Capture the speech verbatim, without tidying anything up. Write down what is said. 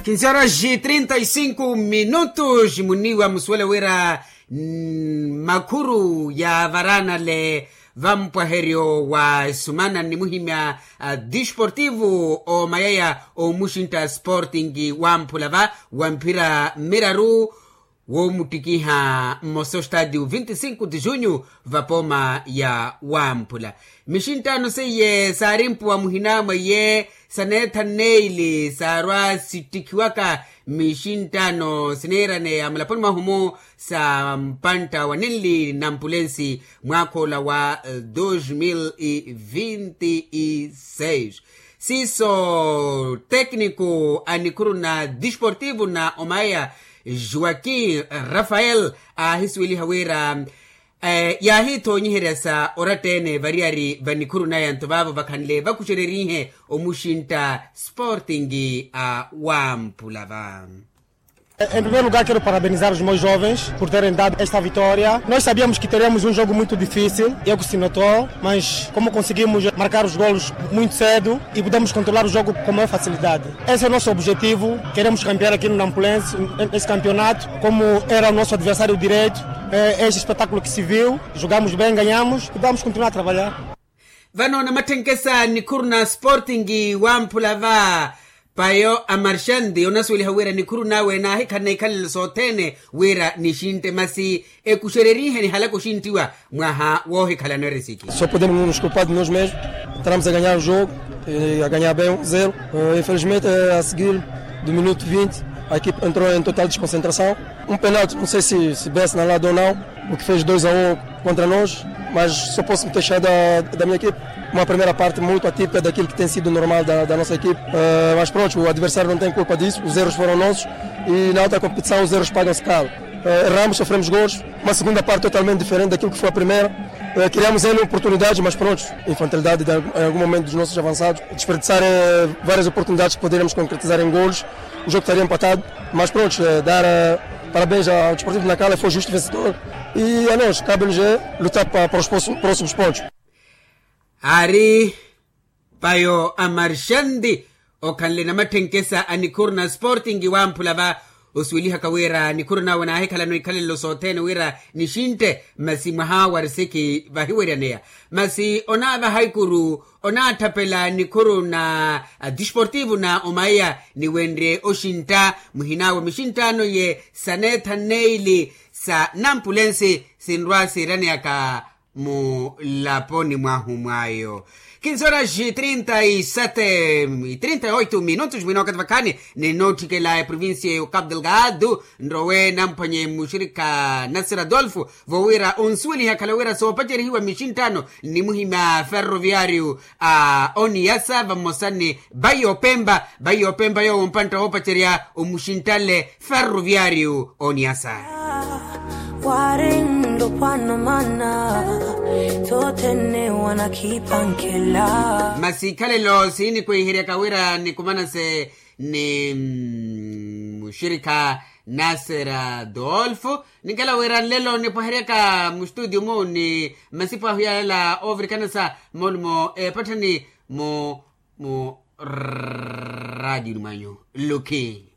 Kinsi horas trinta e cinco minutos muniwa musuwela wira makhuru ya varanale vampwaheryo wa esumana nnimuhimya disportivo omayaya omuxintta sporting wamphula va wa mphira miraru womuttikiha mmosa ostadio vinti cinco de junho vapooma ya wamphula. Mixinttaano seiye saarimpuwa muhina mwa iye saneetha nneili saarwa sittikhiwaka mixinttaano sineeraneya mulaponi mwahu-mu sa mpantta wa ninli nampulensi mwaakha ola wa dos mil e vinti e seis. Siiso tekniko a nikhuru na disportivo na omaya joaquim rafael aahisuweliha wira yaahithoonyiherya sa oratta-ene variyari va nikhuru naya nto vaavo vakhanle vakuxererihe omuxintta sporting a wamphula va. Em primeiro lugar quero parabenizar os meus jovens por terem dado esta vitória. Nós sabíamos que teríamos um jogo muito difícil, eu que se notou, mas como conseguimos marcar os golos muito cedo e pudemos controlar o jogo com maior facilidade. Esse é o nosso objetivo, queremos campear aqui no Nampulense esse campeonato, como era o nosso adversário direto, este espetáculo que se viu, jogamos bem, ganhamos e vamos continuar a trabalhar. Vano namatthenke sa nikhuru na sporting wamphula va payo a marxanti onasuweliha wira nikhuru nawe naahikhalana ikhalelo sothene wira nixintte masi ekuxererihe nihalaka oxinttiwa mwaha woohikhalana erisiki. Só podemos nos culpar de nós mesmos. Entramos a ganhar o jogo, a ganhar bem um zero. Infelizmente a seguir do minuto vinte a equipa entrou em total desconcentração. Um penalti, não sei se bem assinalado ou não, o que fez dois a um contra nós, mas só posso me queixar da minha equipa. Uma primeira parte muito atípica daquilo que tem sido normal da nossa equipa. Mas pronto, o adversário não tem culpa disso, os erros foram nossos. E na outra competição os erros pagam-se caro. Erramos, sofremos gols. Uma segunda parte totalmente diferente daquilo que foi a primeira. Criamos N oportunidades, mas pronto, infantilidade em algum momento dos nossos avançados. Desperdiçar várias oportunidades que poderíamos concretizar em gols. O jogo estaria empatado. Mas pronto, dar parabéns ao Desportivo de Nacala, foi justo vencedor. E a nós cabe-nos lutar para os próximos pontos. Ari payo a marxanti okhanle namatthenke sa a nikhuru na sporting wamphula va osuwelihaka wira nikhuru nawe naahikhalana ikhalelo sothene wira nixintte masi mwaha wa risiki vahiweryaneya. Masi onaavaha ikuru onaatthapela nikhuru na disportivo na omaya niwenrye oxintta muhinawe mixinttaano iye saneetha nneili sa nampulensi sinrwa siiraneyaka mulaponi mwahu mwayo. Kinsi horas trinta e sete trinta e oito minutos mwina wakati vakhani ninootthikelaya provincia ya cabo delgado nrowe namphwanye muxirikha nasir adolfo vowira onsuweliha akhala wira soopacerihiwa mixinttaano nnimuhimya ferroviario a oniyasa vamosa ni bayi opempa bayi opempa yoowo mpantta woopacerya omuxinttale ferroviario oniyasa. Wari ndopwana mana tothene wanakhipankela. Masi ikhalelo siinikweheryaka wira nikumanase ni muxirikha nasera dolfo ninkhala wira nlelo nipwaheryaka mustudio mu ni masipo ahu yala oovirikanasa molumo epatthani mu mu radioni mwanyu. Lukhi.